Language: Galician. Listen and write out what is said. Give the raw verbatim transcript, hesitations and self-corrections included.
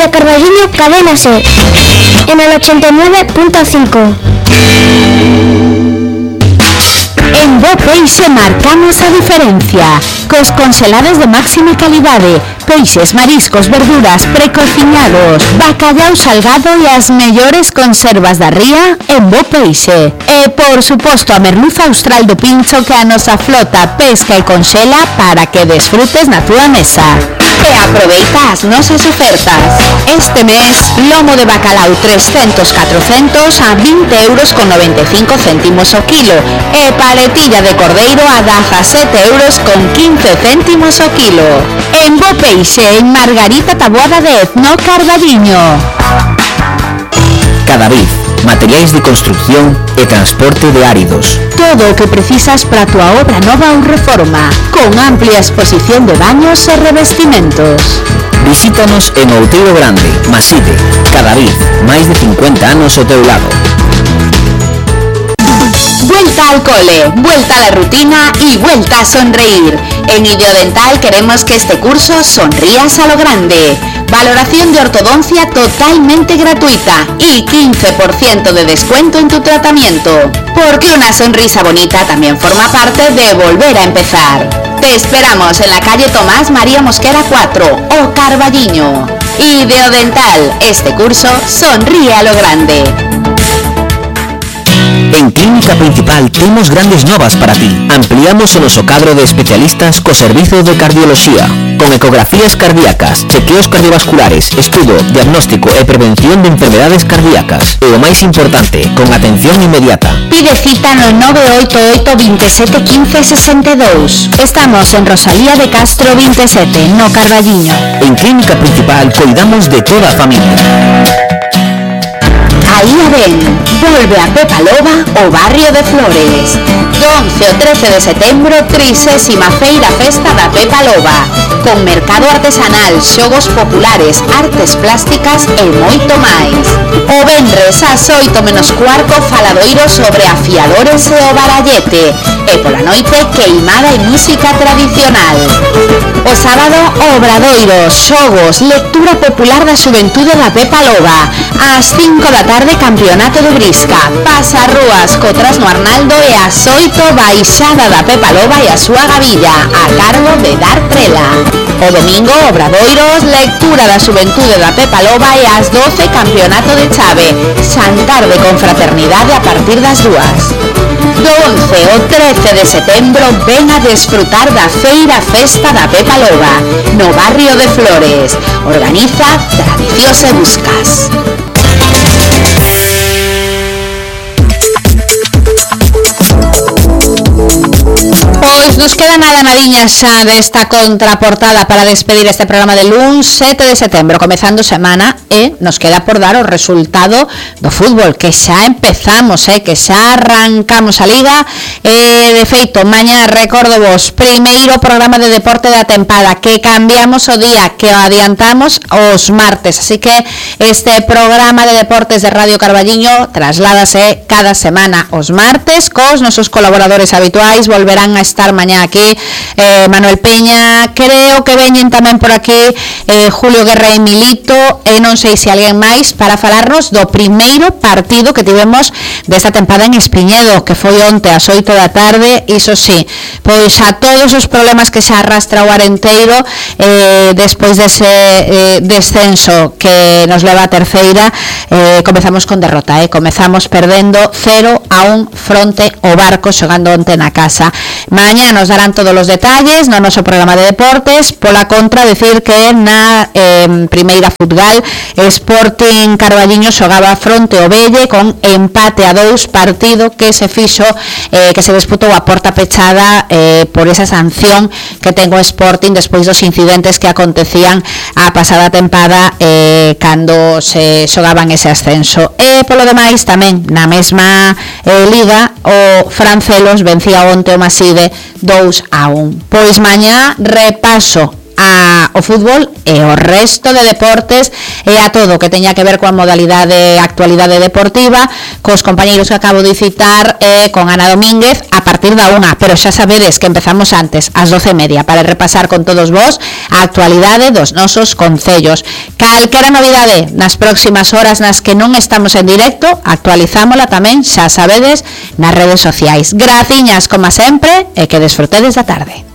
Radio Carballiño, Cadena Ser, en el ochenta y nueve punto cinco. En Bo Peixe marcamos a diferencia. Cos congelados de máxima calidade, peixes, mariscos, verduras, precocinados, bacallau salgado e as mellores conservas da ría en Bo Peixe. E, por suposto, a merluza austral do Pincho que a nosa flota pesca e conxela para que desfrutes na túa mesa. E aproveita as nosas ofertas. Este mes, lomo de bacalao trescentos catrocentos a vinte euros con noventa e cinco céntimos o kilo e paletilla de cordeiro a dezasete euros con quince céntimos o kilo. En Bo Peixe, en Margarita Taboada de Etno, Carballiño. Cadavid, materiais de construcción e transporte de áridos. Todo o que precisas para a tua obra nova ou reforma, con amplia exposición de baños e revestimentos. Visítanos en Outeiro Grande, Maside, Cadavid, máis de cincuenta anos ao teu lado. Vuelta al cole, vuelta a la rutina y vuelta a sonreír. En Idiodental queremos que este curso sonrías a lo grande. Valoración de ortodoncia totalmente gratuita y quince por ciento de descuento en tu tratamiento. Porque una sonrisa bonita también forma parte de volver a empezar. Te esperamos en la calle Tomás María Mosquera cuatro o Carballiño. Idiodental, este curso sonríe a lo grande. En Clínica Principal temos grandes novas para ti. Ampliamos o noso cadro de especialistas co servizo de cardioloxía, con ecografías cardíacas, chequeos cardiovasculares, estudo, diagnóstico e prevención de enfermedades cardíacas. E o máis importante, con atención inmediata. Pide cita no nove oito oito, veintisiete, quince, sesenta e dous. Estamos en Rosalía de Castro veintisiete, no Carballiño. En Clínica Principal cuidamos de toda a familia. Aí a ven, volve a Pepa Loba o barrio de Flores. Do once ao trece de setembro, trigésima feira festa da Pepa Loba, con mercado artesanal, xogos populares, artes plásticas e moito máis. O venres ás oito menos cuarto, faladoiro sobre afiadores e o barallete, e pola noite queimada e música tradicional. O sábado, obradoiro, xogos, lectura popular da xuventude da Pepa Loba. Ás cinco da tarde, campeonato de brisca, pasa rúas cotras no Arnaldo e ás oito, baixada da Pepa Loba e a súa gavilla, a cargo de Dar Trela. O domingo, obradoiros, lectura da xuventude da Pepa Loba e ás doce, campeonato de chave, xantar de confraternidade a partir das dúas. Do once ao trece de setembro, ven a desfrutar da feira festa da Pepa Loba, no barrio de Flores. Organiza Tradicións e Buscas. Pois nos queda nada nadiña xa desta contraportada para despedir este programa de luns sete de setembro, comezando semana, e nos queda por dar o resultado do fútbol, que xa empezamos, eh, que xa arrancamos a liga, e de feito, mañá, recordo vos, primeiro programa de deporte da tempada, que cambiamos o día, que o adiantamos os martes, así que este programa de deportes de Radio Carballiño trasládase cada semana os martes, cos nosos colaboradores habituais, volverán a estar mañá aquí, eh, Manuel Peña, creo que veñen tamén por aquí eh, Julio Guerra e Milito, e non sei se alguén máis, para falarnos do primeiro partido que tivemos desta tempada en Espiñedo, que foi onte ás oito da tarde. Iso sí, pois a todos os problemas que se arrastra o Arenteiro eh, despois dese eh, descenso que nos leva a terceira, eh, comezamos con derrota, eh, comezamos perdendo cero a un fronte o Barco, xogando onte na casa. Mañá nos darán todos os detalles no noso programa de deportes. Pola contra, decir que na eh, primeira futgal, Sporting Carballiño xogaba fronte ao Velle con empate a dous, partido que se fixo eh, que se disputou a porta pechada eh, por esa sanción que ten o Sporting despois dos incidentes que acontecían a pasada tempada eh, cando se xogaban ese ascenso. E polo demais, tamén na mesma eh, liga, o Francelos vencía onte o Maside dous a un. Pois mañá repaso a o fútbol e o resto de deportes e a todo que teña que ver coa modalidade actualidade deportiva, cos compañeiros que acabo de citar e con Ana Domínguez a partir da unha, pero xa sabedes que empezamos antes, ás doce e media, para repasar con todos vos a actualidade dos nosos concellos. Calquera novidade nas próximas horas nas que non estamos en directo, actualizámola tamén, xa sabedes, nas redes sociais. Graciñas, como sempre, e que desfrutedes da tarde.